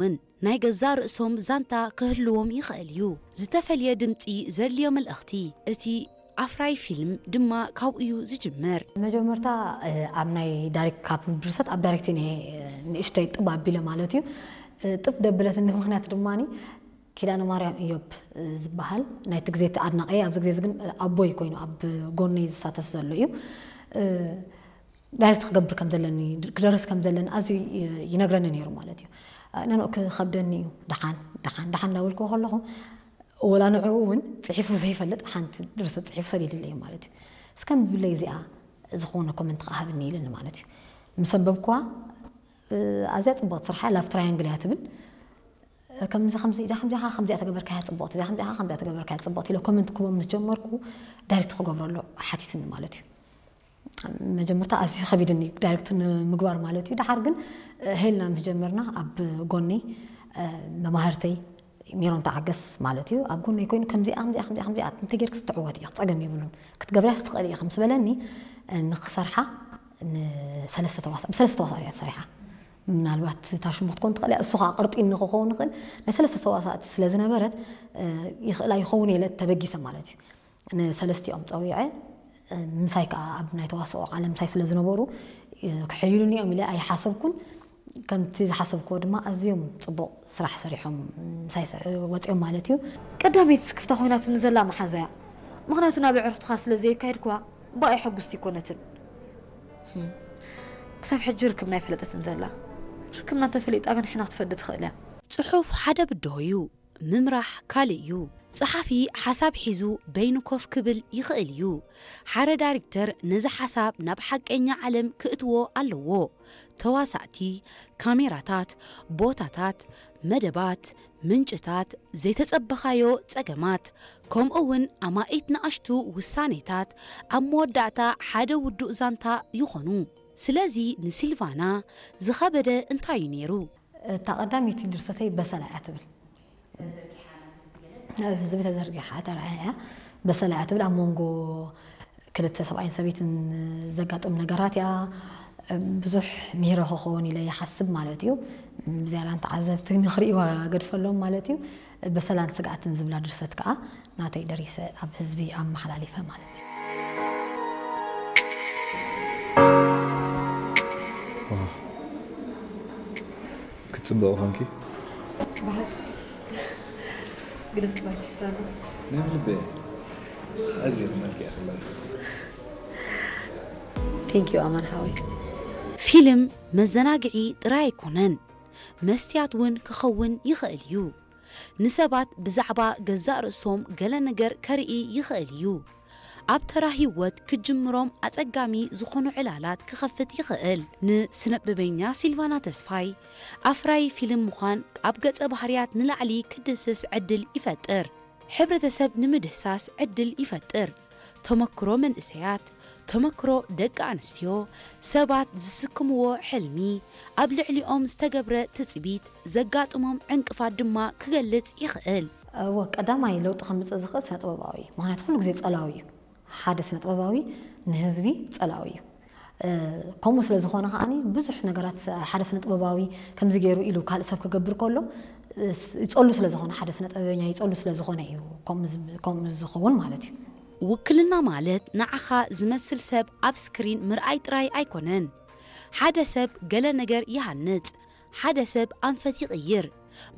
እውን ናይ ገዛእ ርእሶም ዛንታ ክህልዎም ይኽእል እዩ። ዝተፈልየ ድምጺ ዘድልዮ መልእኽቲ፣ እቲ ኣፍራዪ ፊልም ድማ ካብኡ እዩ ዝጅምር። መጀመርታ ኣብ ናይ ዳይሬክት፣ ካብ ድርሰት ኣብ ዳይሬክቲንግ ንእሽተይ ጥብ ኣቢለ ማለት እዩ። ጥብ ደብለትኒ ምኽንያት ድማ ኪዳነ ማርያም እዮብ ዝበሃል ናይቲ ግዜ እቲ ኣድናቂ፣ ኣብዚ ግዜ ግን ኣቦይ ኮይኑ ኣብ ጎነይ ዝሳተፍ ዘሎ እዩ። ዳይሬክት ክገብር ከም ዘለኒ፣ ክደርስ ከም ዘለኒ ኣዝዩ ይነግረኒ ነይሩ ማለት እዩ። ነንኡ ክኸብደኒ እዩ። ደሓን ደሓን ደሓን እንዳበልኩ ከለኹ፣ ወላ ንዕኡ እውን ጽሒፉ ዘይፈልጥ ሓንቲ ድርሰት ጽሒፉ ሰዲድለይ ማለት እዩ። እስከ ምብለይ እዚኣ ዝኾነ ኮመንት ከኣ ሃብኒ ኢልኒ ማለት እዩ። ምስ ኣንበብኩዋ፣ ኣዝያ ጽብቕቲ ስራሕ እያ፣ ላቭ ትራያንግል እያ ትብል። ከምዚ ከምዚ ኢዳ ከምዚኣ ከምዚኣ ተገበርካያ ጽብቕቲ፣ እዚኣ ከምዚኣ ከምዚኣ ተገበርካያ ጽብቕቲ ኢለ ኮመንት ክቦም ምስ ጀመርኩ፣ ዳይሬክት ክገብረሉ ሓቲትኒ ማለት እዩ። መጀመርታ ኣዝዩ ከቢድኒ ዳይሬክት ንምግባር ማለት እዩ። ደሓር ግን ሄልና ምስ ጀመርና፣ ኣብ ጎነይ መማህርተይ ሜሮን ተዓገስ ማለት እዩ፣ ኣብ ጎነይ ኮይኑ ከምዚኣ ከምዚኣ ከምዚኣ ከምዚኣ እንተጌርክስ ትዕወት ኢኺ፣ ጸገም የብሉን፣ ክትገብርያስ ትኽእሊ ኢኺ ምስ በለኒ፣ ንክሰርሓ ንሰለስተ ተዋሳ-፣ ብሰለስተ ተዋሳእቲ እያ ተሰሪሓ። ምናልባት እታ ሽሙ ክትኮን ትኽእል እያ፣ እሱ ኸዓ ቅርጺ ንክኸውን ይኽእል። ናይ ሰለስተ ተዋሳእቲ ስለ ዝነበረት፣ ይኽእላ ይኸውን ኢለ ተበጊሰ ማለት እዩ። ንሰለስቲኦም ጸዊዐ፣ ምሳይ ከኣ ኣብ ናይ ተዋስኦ ዓለም ምሳይ ስለ ዝነበሩ፣ ክሕይሉኒ እዮም ኢለ ኣይሓሰብኩን። ከምቲ ዝሓሰብክዎ ድማ ኣዝዮም ጽቡቕ ስራሕ ሰሪሖም ምሳይ ሰ-፣ ወጺኦም ማለት እዩ። ቀዳመይቲ ስክፍታ ኮይናትኒ ዘላ መሓዛ እያ። ምኽንያቱ ናብ ኣዕሩኽትኻ ስለ ዘየካየድክዋ ብኣይ ሕጉስቲ ኣይኮነትን። ህም። ክሳብ ሕጂ ርክብና ኣይፈለጠትን ዘላ። ርክብና እንተፈሊጣ ግን ሕና ክትፈዲ ትኽእል እያ። ጽሑፍ ሓደ ብድሆ እዩ፣ ምምራሕ ካልእ እዩ። ጸሓፊ ሓሳብ ሒዙ በይኑ ኮፍ ክብል ይኽእል እዩ። ሓደ ዳይሬክተር ነዚ ሓሳብ ናብ ሓቀኛ ዓለም ክእትዎ ኣለዎ። ተዋሳእቲ፣ ካሜራታት፣ ቦታታት፣ መደባት፣ ምንጭታት፣ ዘይተጸበኻዮ ጸገማት፣ ከምኡ እውን ኣማኢት ንኣሽቱ ውሳኔታት ኣብ መወዳእታ ሓደ ውዱእ ዛንታ ይኾኑ። ስለዚ ንሲልቫና ዝኸበደ እንታይ እዩ ነይሩ? እታ ቀዳመይቲ ድርሰተይ በሰላ እያ ትብል። ኣብ ህዝቢ ተዘርጊሓ ተራእያ እያ። በሰላ እያ ትብል ኣብ መንጎ ክልተ ሰብኣይን ሰበይትን ዘጋጥም ነገራት እያ። ብዙሕ ምሂሮ ክኸውን ኢለ ይሓስብ ማለት እዩ። ብዝያዳ ንተዓዘብቲ ንኽርእይዋ ገድፈሎም ማለት እዩ። በሰላን ስግኣትን ዝብላ ድርሰት ከኣ ናተይ ደሪሰ ኣብ ህዝቢ ኣመሓላሊፈ ማለት እዩ። ዋው። ክትጽብቒ ኾንኪ። ብሓቂ። ግደፍ እባ ኣይትሕፍረና። ናይ ብልቢ እየ። ኣዝየ ክመልኪ እየ ከለኺ። Thank you ኣማን ሓወይ። ፊልም መዘናግዒ ጥራይ ኣይኮነን፣ መስትያት እውን ክኸውን ይኽእል እዩ። ንሰባት ብዛዕባ ገዛእ ርእሶም ገለ ነገር ከርኢ ይኽእል እዩ። ኣብ ተራ ህይወት ክጅምሮም ኣጸጋሚ ዝኾኑ ዕላላት ክኸፍት ይኽእል። ንስነጥበበኛ ሲልቫና ተስፋይ፣ ኣፍራዪ ፊልም ምዃን ኣብ ገጸ ባህርያት ንላዕሊ ክድህስስ ዕድል ይፈጥር። ሕብረተሰብ ንምድህሳስ ዕድል ይፈጥር። ተመክሮ መንእሰያት፣ ተመክሮ ደቂ ኣንስትዮ፣ ሰባት ዝስክምዎ ሕልሚ፣ ኣብ ልዕሊኦም ዝተገብረ ትጽቢት፣ ዘጋጥሞም ዕንቅፋት ድማ ክገልጽ ይኽእል። እወ፣ ቀዳማይ ለውጢ ከምጽእ ዝኽእል ስነ ጥበባዊ እዩ። ምኽንያቱ ኩሉ ግዜ ጸላዊ እዩ። ሓደ ስነ ጥበባዊ ንህዝቢ ጸላዊ እዩ። እ፣ ከምኡ ስለ ዝኾነ ከኣኒ ብዙሕ ነገራት ስ-፣ ሓደ ስነ ጥበባዊ ከምዚ ገይሩ ኢሉ ካልእ ሰብ ክገብር ከሎ፣ እ፣ ስ-፣ ይጸሉ ስለ ዝኾነ፣ ሓደ ስነ ጥበበኛ ይጸሉ ስለ ዝኾነ እዩ ከምኡ ዝ-፣ ከምኡ ዝኸውን ማለት እዩ። ውክልና ማለት ንዓኻ ዝመስል ሰብ ኣብ ስክሪን ምርኣይ ጥራይ ኣይኮነን። ሓደ ሰብ ገለ ነገር ይሃንጽ፣ ሓደ ሰብ ኣንፈት ይቕይር።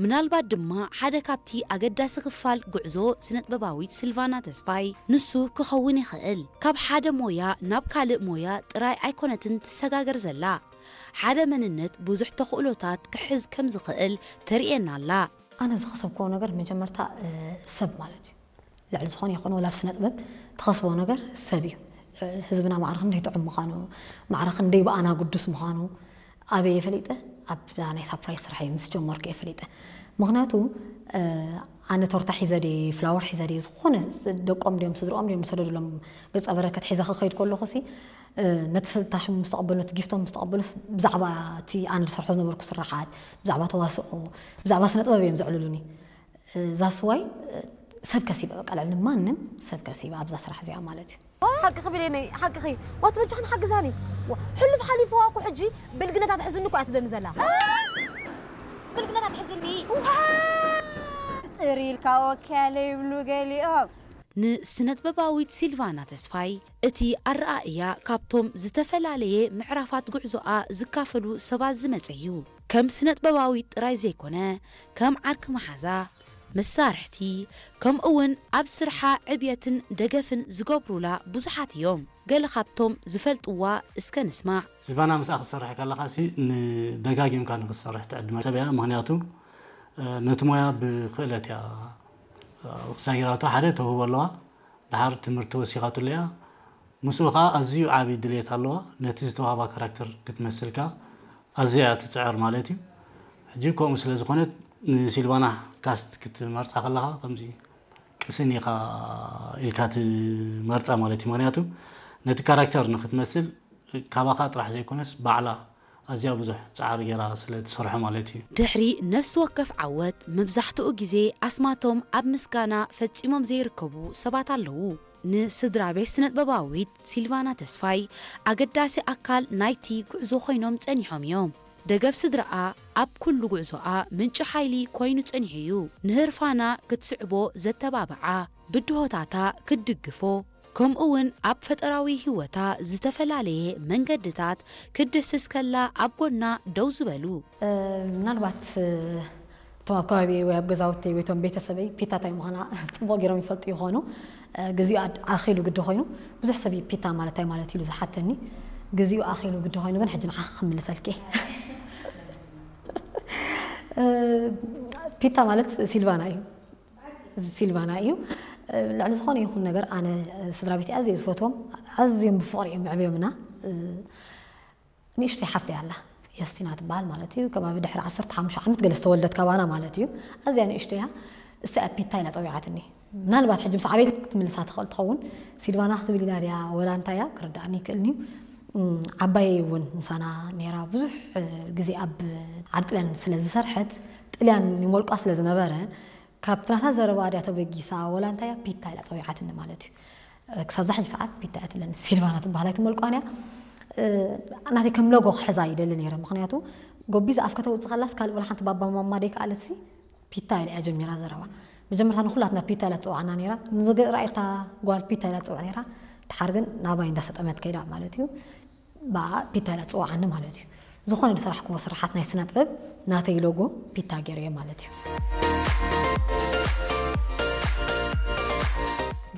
ምናልባት ድማ ሓደ ካብቲ ኣገዳሲ ክፋል ጉዕዞ ስነጥበባዊት ሲልቫና ተስፋይ ንሱ ክኸውን ይኽእል። ካብ ሓደ ሞያ ናብ ካልእ ሞያ ጥራይ ኣይኮነትን ትሰጋገር ዘላ። ሓደ መንነት ብዙሕ ተኽእሎታት ክሕዝ ከም ዝኽእል ተርእየና ኣላ። ኣነ ዝኸሰብክዎ ነገር መጀመርታ፣ እ፣ ሰብ ማለት እዩ። ልዕሊ ዝኾነ ይኹን ወላ ኣብ ስነ ጥበብ ትኸስቦ ነገር ሰብ እዩ። እ፣ ህዝብና ማዕረ ክንደይ ጥዑም ምዃኑ፣ ማዕረ ክንደይ ብኣና ግዱስ ምዃኑ ኣበይ እየ ፈሊጠ? ኣብ ናይ ሳፕራይዝ ስራሕ እየ ምስ ጀመርኩ እየ ፈሊጠ። ምኽንያቱ፣ እ፣ ኣነ ቶርታ ሒዘ ድየ፣ ፍላወር ሒዘ ድየ፣ ዝኾነ ስ-፣ ደቆም ድዮም ስድርኦም ድዮም ዝሰደዱሎም ገጸ በረከት ሒዘ ክኸይድ ከለኹ ሲ፣ እ፣ ነቲ ስ-፣ እታ ሽሙ ምስ ተቐበሉ፣ ነቲ ጊፍቶም ምስ ተቐበሉስ ብዛዕባ እቲ ኣነ ዝሰርሖ ዝነበርኩ ስራሓት፣ ብዛዕባ ተዋስኦ፣ ብዛዕባ ስነ ጥበብ እዮም ዘዕልሉኒ። እ፣ that's why፣ እ፣ ሰብ ከሲበ፣ በቃ ልዕሊ ማንም ሰብ ከሲበ ኣብዛ ስራሕ እዚኣ ማለት እዩ። ሓቅኺ ብሌነይ፣ ሓቅኺ። ዋት በጃኽን ሓግዛኒ። ዋ፣ ሕሉፍ ሓሊፍዋ እኮ ሕጂ ብልግነታት ሕዝኒ እኮ እያ ትብለኒ ዘላ። ብልግነት ኣትሕዝኒ። ጽር ኢልካ ወኪያ ለይብሉ ገሊኦም። ንስነጥበባዊት ሲልቫና ተስፋይ እቲ ኣረኣእያ ካብቶም ዝተፈላለየ ምዕራፋት ጉዕዞኣ ዝካፈሉ ሰባት ዝመጸ እዩ። ከም ስነጥበባዊት ጥራይ ዘይኮነ፣ ከም ዓርኪ መሓዛ፣ መሳርሕቲ፣ ከምኡ እውን ኣብ ስርሓ ዕብየትን ደገፍን ዝገብሩላ ብዙሓት እዮም። ገለ ካብቶም ዝፈልጥዋ እስከ ንስማዕ። ሲልቫና ምስኣ ክትሰርሕ ከለኻሲ ንደጋጊምካ ንክትሰርሕ ትዕድመ ሰብ እያ። ምኽንያቱ ነቲ ሞያ ብክእለት እያ ክሳይራቶ ሓደ ተውህቦ ኣለዋ። ድሓር ትምህርቲ ወሲኻትሉ እያ። ምስኡ ኸዓ ኣዝዩ ዓቢ ድሌት ኣለዋ። ነቲ ዝተዋህባ ካራክተር ክትመስል ከኣ ኣዝያ እያ ትጽዕር ማለት እዩ። ሕጂ ከምኡ ስለ ዝኾነት ንሲልቫና ካስት ክትመርጻ ከለኻ ከምዚ ቅስን ኢኻ ኢልካ ትመርጻ ማለት እዩ። ምኽንያቱ ነቲ ካራክተር ንክትመስል ካባኻ ጥራሕ ዘይኮነስ ባዕላ ኣዝያ ብዙሕ ጻዕሪ ገይራ ስለ ትሰርሖ ማለት እዩ። ድሕሪ ነፍሲ ወከፍ ዓወት መብዛሕትኡ ግዜ ኣስማቶም ኣብ ምስጋና ፈጺሞም ዘይርከቡ ሰባት ኣለዉ። ንስድራ ቤት ስነጥበባዊት ሲልቫና ተስፋይ ኣገዳሲ ኣካል ናይቲ ጉዕዞ ኮይኖም ጸኒሖም እዮም። ደገፍ ስድራኣ ኣብ ኩሉ ጉዕዞኣ ምንጪ ሓይሊ ኮይኑ ጸኒሑ እዩ። ንህርፋና ክትስዕቦ ዘተባብዓ ብድሆታታ ክትድግፎ ከምኡ እውን ኣብ ፈጠራዊ ህይወታ ዝተፈላለየ መንገድታት ክትድህስስ ከላ ኣብ ጎና ደው ዝበሉ። ምናልባት እቶም ኣብ ከባቢ ወይ ኣብ ገዛውቲ ወይ እቶም ቤተሰበይ ፒታ ታይ ምዃና ጽቡቕ ገይሮም ይፈልጡ ይኾኑ። ግዜኡ ኣድ- ኣኺሉ ግዲ ኮይኑ ብዙሕ ሰብ እዩ ፒታ ማለት ታይ ማለት ኢሉ ዝሓተኒ። ግዜኡ ኣኺሉ ግዲ ኮይኑ ግን ሕጂ ንዓኺ ክምልሰልኪ እየ። ፒታ ማለት ሲልቫና እዩ። ሲልቫና እዩ። ልዕሊ ዝኾነ ይኹን ነገር ኣነ ስድራ ቤተይ ኣዝየ ዝፈትዎም ኣዝዮም ብፍቕሪ እዮም መዕብዮምና። ንእሽተይ ሓፍተይ ኣላ ዮስቲና ትበሃል ማለት እዩ። ከባቢ ድሕሪ ዓሰርተ ሓሙሽተ ዓመት ገለ ዝተወልደት ካባና ማለት እዩ። ኣዝያ ንእሽተይ እያ። እሳ እያ ፒታ ኢላ ጸዊዓትኒ። ምናልባት ሕጂ ምስ ዓበየት ክትምልሳ ትኽእል ትኸውን። ሲልቫና ክትብል ኢላ ድያ ወላ እንታይ እያ ክርድኣኒ ይክእልኒ እዩ። ዓባየይ እውን ምሳና ነይራ ብዙሕ ግዜ ኣብ ዓዲ ጥልያን ስለ ዝሰርሐት ጥልያን ይመልቋ ስለ ዝነበረ ካብቲ ናታ ዘረባ ድያ ተበጊሳ ወላ እንታይ እያ ፒታ ኢላ ጸዊዓትኒ ማለት እዩ። ክሳብ ዛሕጂ ሰዓት ፒታ እያ ትብለኒ። ሲልቫና ትበሃል ኣይትመልቋን እያ። ናተይ ከም ሎጎ ክሕዛ ይደሊ ነይረ። ምኽንያቱ ጎቢዛ ኣፍ ከተውፅእ ከላስ ካልእ ወላ ሓንቲ ባባ ማማ ደይከኣለትሲ ፒታ ኢላ እያ ጀሚራ ዘረባ። መጀመርታ ንኹላትና ፒታ ኢላ ትፅዋዕና ነይራ። ንዝገ- ራእየታ ጓል ፒታ ኢላ ትፅዋዕ ነይራ። ድሓር ግን ናባይ እንዳሰጠመት ከይዳ ማለት እዩ። ብኣ ፒታ ኢላ ትፅዋዓኒ ማለት እዩ። ዝኾነ ዝሰራሕክዎ ስራሓት ናይ ስነ ጥበብ ናተይ ሎጎ ፒታ ገይረዮ ማለት እዩ።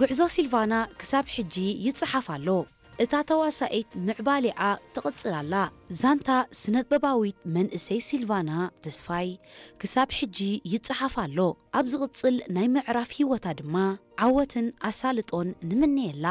ጉዕዞ ሲልቫና ክሳብ ሕጂ ይጸሓፍ ኣሎ። እታ ተዋሳኢት ምዕባሌኣ ትቕጽል ኣላ። ዛንታ ስነጥበባዊት መንእሰይ ሲልቫና ተስፋይ ክሳብ ሕጂ ይጸሓፍ ኣሎ። ኣብ ዝቕጽል ናይ ምዕራፍ ህይወታ ድማ ዓወትን ኣሳልጦን ንምነየላ።